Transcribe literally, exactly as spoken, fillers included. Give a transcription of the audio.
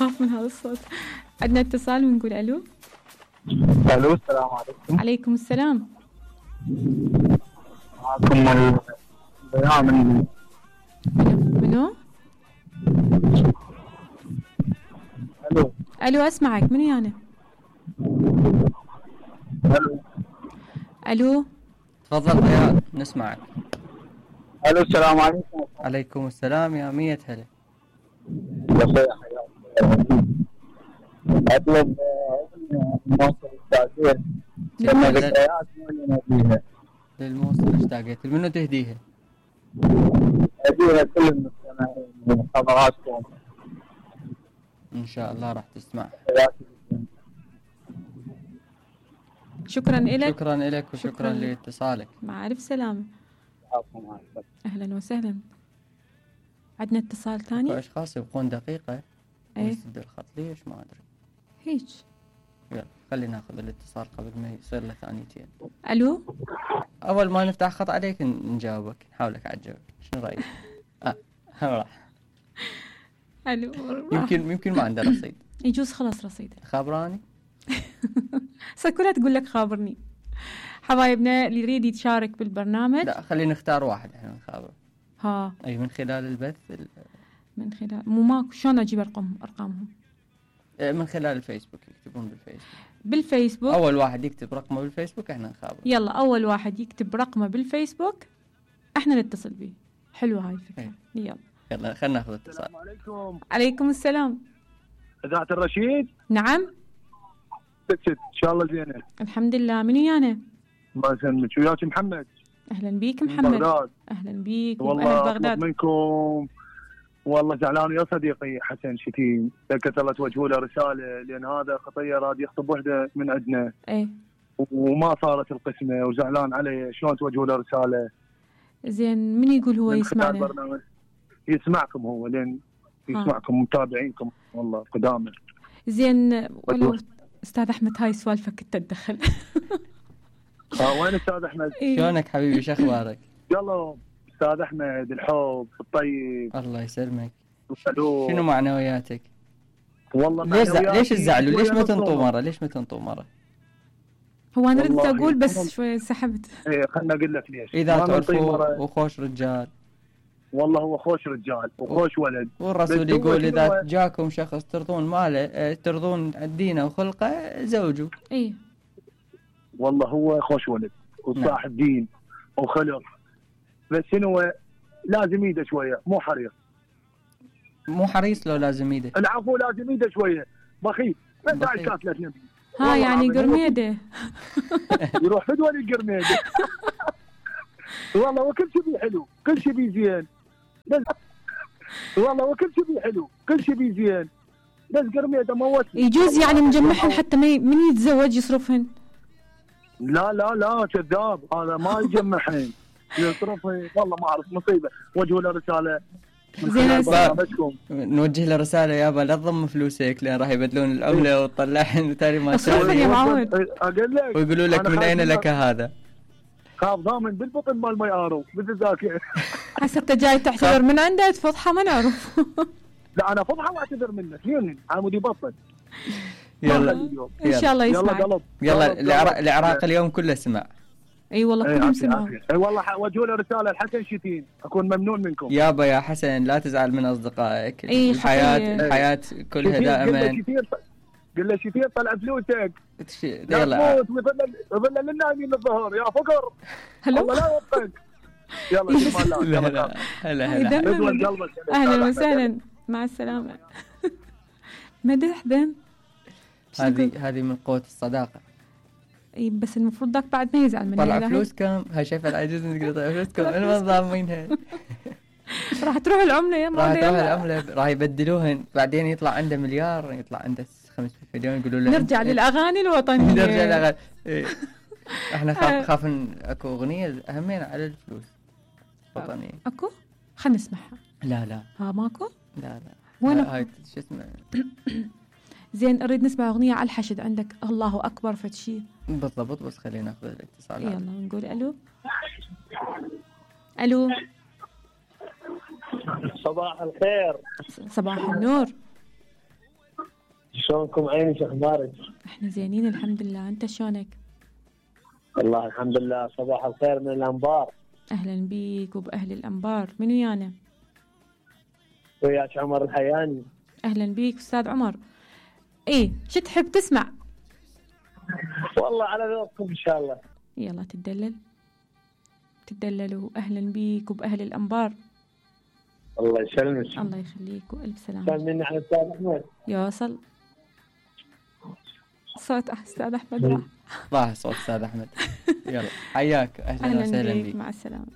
اخاف من هذا الصوت. عندنا اتصال ونقول الو. الو السلام عليكم. عليكم السلام. معكم البياع من منو؟ الو الو اسمعك. منو انا؟ الو الو تفضل حياك نسمعك. الو السلام عليكم. عليكم السلام يا مية هلا. بخير حياك. اطلب موصل التعزيز للذكريات اللي نبيها. للموصل اشتاقيت. منو تهديها؟ اهديها كل المستمعين من حضراتكم. ان شاء الله راح تسمع. شكرا لك. شكرا لك وشكرا شكراً. لاتصالك. مع الف سلامه. اهلا وسهلا. عندنا اتصال ثاني. اشخاص يبقون دقيقه ايه يسد الخط ليش ما ادري. هيك. يلا خلينا ناخذ الاتصال قبل ما يصير له ثانيتين. الو. اول ما نفتح خط عليك نجاوبك نحاولك على الجواب. شنو رايك؟ اه راح. الو. يمكن يمكن ما عنده رصيد. يجوز خلاص رصيده. خابراني. سكولة تقول لك خابرني. حبايبنا اللي يريد يتشارك بالبرنامج. لا خلينا نختار واحد احنا نخابر. ها. اي من خلال البث ال... من خلال مو ماكو. شلون اجيب ارقام ارقامهم؟ من خلال الفيسبوك يكتبون بالفيسبوك. بالفيسبوك. اول واحد يكتب رقمه بالفيسبوك احنا نخابر. يلا اول واحد يكتب رقمه بالفيسبوك احنا نتصل به. حلوه هاي الفكره. ايه. يلا يلا خلينا ناخذ اتصال. السلام عليكم. عليكم السلام. اذاعة الرشيد. نعم. ست ان شاء الله زينه. الحمد لله. منو يانا؟ الله يسلمك. وياك محمد. اهلا بيك من محمد. بغداد. اهلا بيك. والله واهل اطلب بغداد. منكم والله زعلان يا صديقي حسن شتيم. لك الله توجهوا له رساله لان هذا خطيه راد يخطب وحده من عندنا. ايه. وما صارت القسمه وزعلان عليه. شلون توجهوا له رساله؟ زين من يقول هو من خلال يسمعنا؟ برنامج. يسمعكم هو لين يسمعكم متابعينكم والله قدامه. زين ولو استاذ احمد هاي سوالفك كنت تدخل. اه وين استاذ احمد؟ شلونك حبيبي شو اخبارك؟ يلا استاذ احمد الحب الطيب. الله يسلمك. الو. شنو معنوياتك؟ والله ليش زع... معنوياتي ليش تزعلوا؟ ليش ما شوية تنطوا مصدومة. مره؟ ليش ما تنطوا مره؟ هو انا ردت والله اقول بس والله. شوي سحبت. ايه خلنا اقول لك ليش. اذا ما نعطيه تعرفوا مرة. وخوش رجال. والله هو خوش رجال وخوش ولد. والرسول بس هو يقول شنو اذا هو؟ جاكم شخص ترضون ماله اه، ترضون دينه وخلقه زوجوا. ايه والله هو خوش ولد وصاحب دين وخلق. بس شنو لازم ايده شويه مو حريص. مو حريص لو لازم ايده. العفو لازم ايده شويه بخيل. بس هاي بخيل. كاتله نبي. ها والله يعني العظيم. قرميده. يروح فدوى القرميده. والله وكل شيء بيه حلو كل شيء بيه زين. بس والله وكل شيء بيه حلو كل شيء بيه زين. بس قرميده موت. يجوز يعني مجمعهن حتى ما ي- من يتزوج يصرفهن. لا لا لا كذاب هذا ما يجمعهن. يصرفهن والله ما اعرف مصيبه. وجهوا له رساله من زين خلال هسه- برنامجكم. نوجه له رساله يابا لا تضم فلوسك لان راح يبدلون العمله وتطلعهن وتالي ما أصرفهن يا شاء معود. اقول لك ويقولوا لك أنا من خايف اين من- لك هذا؟ خاف ضامن بالبطن مال ما يقاروا بالذاكره. هسه انت جاي تعتذر من عنده تفضحه ما نعرف. لا انا فضحه واعتذر منك لين عمودي بطل. يلا ان شاء الله يلا يسمعك. قلب يلا قلب، العراق, قلب. العراق اليوم كله سمع. اي والله اي كلهم عافية سمعوا. عافية. اي والله ح- وجهوا له رساله الحسن شتين اكون ممنون منكم. يابا يا حسن لا تزعل من اصدقائك. إي، الحياه خطية. الحياه كلها شتين، قل له دائما. شتين قل له شتين طلع فلوسك. تش- لا يلا تموت ويظل يظل للنايمين الظهر يا فقر. هلو. الله لا يوفقك. يلا في امان الله. لا يلا لا هلا هاي هلا دم- ادول قلبك. اهلا وسهلا مع السلامه. مدح دم. هذه هذه من قوه الصداقه. اي بس المفروض ذاك بعد ما يزعل مني. طلع لا، فلوسكم هاي شايفه العجوز تقول طلع فلوسكم انا ما ضامنينها. راح تروح العمله يا راح ما تروح العمله راح يبدلوهن بعدين يطلع عنده مليار يطلع عنده خمسمية مليون يقولوا له نرجع للاغاني الوطنيه. نرجع للأغاني. إيه. احنا خاف خاف إن اكو اغنيه اهمين على الفلوس وطنيه. اكو خلينا نسمعها. لا لا ها ماكو. لا لا وين هاي شو اسمه زين نريد نسمع اغنيه على الحشد عندك الله اكبر فد شيء. بالضبط بس خلينا ناخذ الاتصال. يلا نقول الو. الو صباح الخير. صباح النور. شلونكم عيني، شو اخبارك؟ احنا زينين الحمد لله، انت شلونك؟ والله الحمد لله. صباح الخير من الانبار. اهلا بيك وباهل الانبار. من ويانا؟ وياك عمر الحياني. اهلا بيك استاذ عمر. ايه شو تحب تسمع؟ والله على ذوقكم ان شاء الله. يلا تدلل تدللوا. اهلا بيك وباهل الانبار. الله يسلمك. الله يخليك والف سلامه. سلمني على الاستاذ احمد. يوصل صوت استاذ احمد راح راح صوت استاذ احمد. يلا حياك، اهلا اهلا وسهلا بيك. بك. مع السلامه.